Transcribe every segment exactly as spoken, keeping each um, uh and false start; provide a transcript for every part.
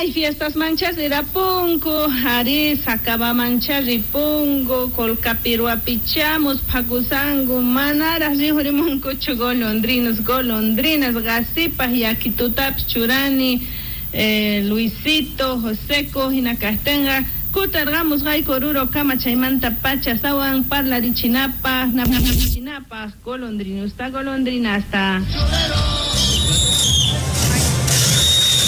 Unay fiestas manchas rirapunku, ari Sacabamancha ripunku, Colcapiruapichamos, Pacusangu, manaraj riqurimunkuchu golondrinos, golondrinas, qasipaj yakitutapis churani, eh, Luisito, Joseco, hinakajtinqa kutarqamusqayku Oruro kama chaymanta pacha astawan parlarichinapaj, napachinapaj, golondrinusta, golondrinasta.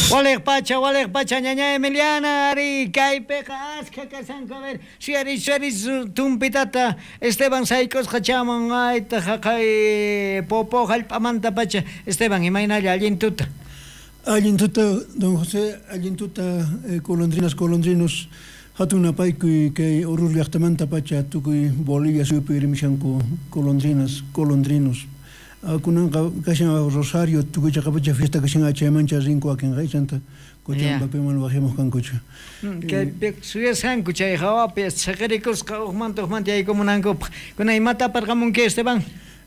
Walej pacha, walej pacha, ñaña Emiliana, ari, kaypiqa askha kashanku, a ver, suyariy, suyariy, tumpitata, Esteban sayk'usqa chaman, ayta jaqay popo jallp'amanta pacha. Esteban, imaynalla, allin tuta. Allin tuta, don José, allin tuta, eh, golondrinas, golondrinos, hatun napaykuy kay Oruro llaqtamanta pacha tukuy Bolivia suyupi rimishanku golondrinas, golondrinos. Kunanqa kashan Rosario tukuy chaqapacha fiesta kashan chaymancha rinku wakinqa chanta Cochabambapiman wajimuq kankuchu. Kaypi suyasqanku chay hawapi chaqirikusqa uqmanta uqmanta yaykumunankupaq. Kunan imata aparqamunki, Esteban?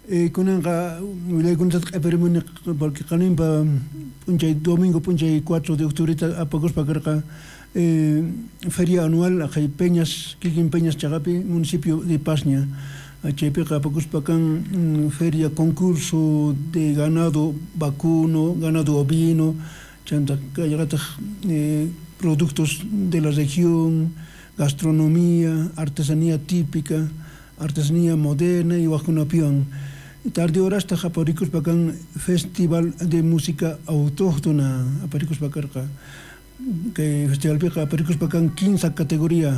Eh, kunanqa willaykunata q'ipirimuni porque qaninpa p'unchay domingo p'unchay cuatro de octubreta apakuspa karqa eh, feria anual aqhay Peñas, kikin Peñas chaqapi municipio de Pasña. Chaypiqa apakuspa kan feria concurso de ganado vacuno, ganado ovino, chanta kallaqataq eh, productos de la región, gastronomía, artesanía típica, artesanía moderna y wajkunapiwan. Tarde horasta aparikuspa kan festival de música autóctona aparikuspa karqa. Kay festivalpiqa aparikuspa kan quince categoría,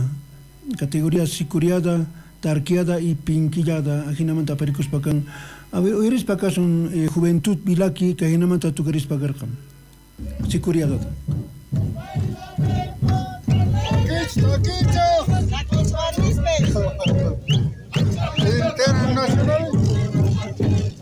categoría sicuriada, tarqueada y pinquillada, ajinamanta aparikuspa kan. A ver, uyarispa kasun eh, Juventud Vilaki, que ajinamanta tukarispa karqa. Sicuriada. Takich, takich.